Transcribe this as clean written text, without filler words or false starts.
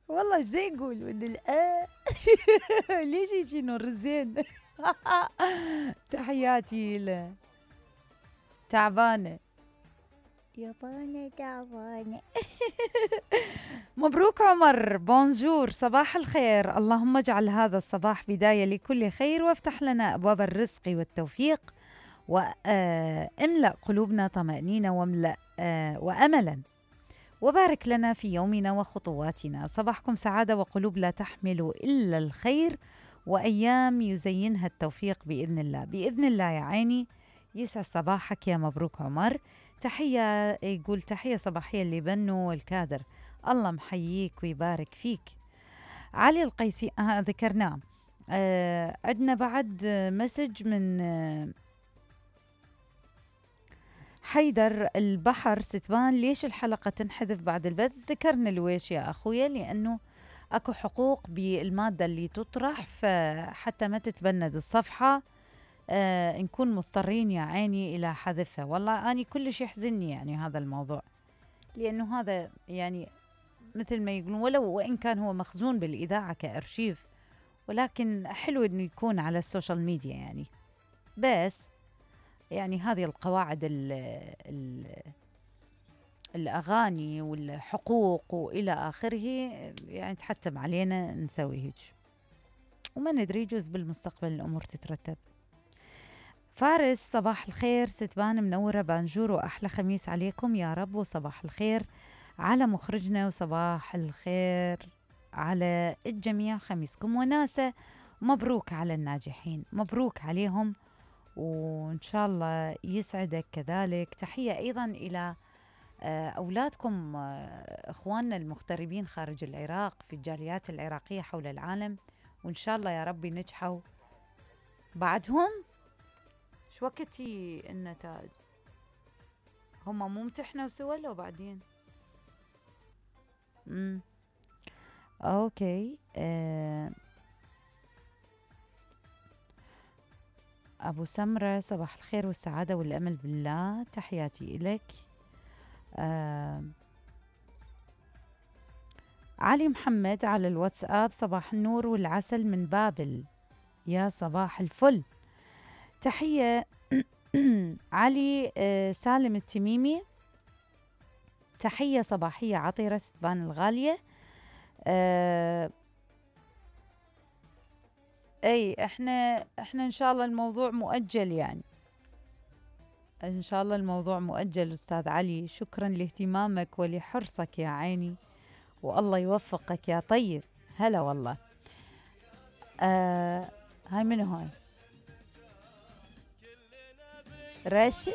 والله ايش زي يقول من ليش هيجي نور الزين. تحياتي له. تعبانة يابانة تعبانة. مبروك عمر، بونجور، صباح الخير. اللهم اجعل هذا الصباح بداية لكل خير، وافتح لنا أبواب الرزق والتوفيق، واملأ قلوبنا طمأنينة واملأ وأملا، وبارك لنا في يومنا وخطواتنا. صباحكم سعادة وقلوب لا تحمل إلا الخير، وأيام يزينها التوفيق بإذن الله. بإذن الله يا عيني. يسعد صباحك يا مبروك عمر. تحية، يقول تحية صباحية لبنو والكادر. الله محييك ويبارك فيك. علي القيسي ذكرناه. عندنا بعد مسج من حيدر البحر ستبان. ليش الحلقة تنحذف بعد البث؟ ذكرنا لويش يا أخويا، لأنه أكو حقوق بالمادة اللي تطرح، فحتى ما تتبند الصفحة نكون مضطرين يا عيني إلى حذفها. والله أنا كلش يحزنني يعني هذا الموضوع، لأنه هذا يعني مثل ما يقولون، ولو وإن كان هو مخزون بالإذاعة كأرشيف، ولكن حلو إنه يكون على السوشيال ميديا يعني. بس يعني هذه القواعد الأغاني والحقوق وإلى آخره يعني تحتم علينا نسوي هيك، وما ندري يجوز بالمستقبل الأمور تترتب. فارس صباح الخير ستبان منورة بانجور، وأحلى خميس عليكم يا رب، وصباح الخير على مخرجنا، وصباح الخير على الجميع، خميسكم وناسة. مبروك على الناجحين، مبروك عليهم، وإن شاء الله يسعدك كذلك. تحية أيضا إلى أولادكم، إخواننا المغتربين خارج العراق في الجاليات العراقية حول العالم، وإن شاء الله يا رب نجحوا بعدهم. شو وقتي النتائج؟ هم مو امتحنوا سوا لو بعدين؟ اوكي. أبو سمرة صباح الخير والسعادة والأمل بالله، تحياتي إليك. علي محمد على الواتساب، صباح النور والعسل من بابل، يا صباح الفل. تحية علي. سالم التميمي، تحية صباحية عطيرة ستبان الغالية. اي احنا ان شاء الله الموضوع مؤجل، يعني ان شاء الله الموضوع مؤجل. استاذ علي شكرا لاهتمامك ولحرصك يا عيني، والله يوفقك يا طيب. هلا والله. هاي منو هاي؟ راشد